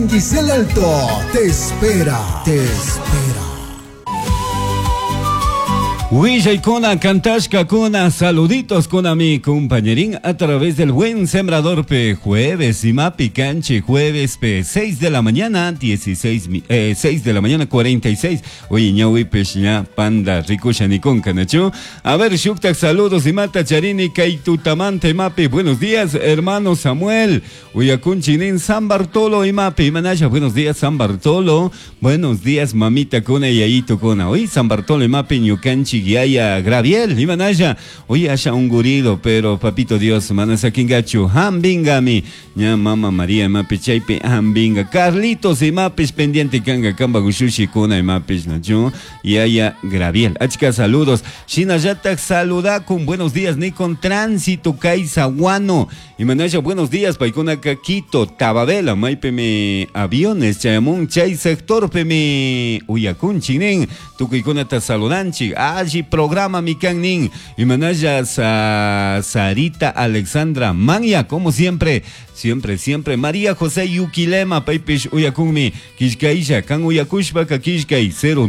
Giselle Alto te espera, te espera. Willaykuna, kantashkakuna, saluditos con mi compañerín a través del Buen Sembrador P. Jueves, Imapi Canche, jueves P. 6 de la mañana, 16, 6 de la mañana, 46. Oye, ñawi peshña, panda, rikusha nikon kanachu. A ver, shuktak, saludos, imata charini, kaitutamante, mapi. Buenos días, hermano Samuel. Uyakunchinin, San Bartolo, imapi, imanasha. Buenos días, San Bartolo. Buenos días, mamita kuna y yayito kuna. Oye, San Bartolo, imapi, ñukanchi Yaya Graviel, Imanaya, oye, haya un gurido, pero papito Dios, manasakingachu, hambingami, ña mama María, mapi chaypi, hambinga, Carlitos, y mapis pendiente, kanga, kamba, gushushi, kuna, y mapis, nachu, Yaya Graviel. Achka, saludos. Shinayatak, saludakun, buenos días, Nikon Tránsito, Kaisaguano, Imanaya, buenos días, Paikuna, Quito, Tababela, maipeme, aviones, chayamun, chay sector, peme, uyakun, chinen, tukuykunata saludanchik, alli programa mikan Imanaya sa, Sarita Alexandra Manya, como siempre, siempre, siempre. María José Yuquilema, paypish uyakunmi, kishkaisha, kan uyakushpa, kishkay, 0.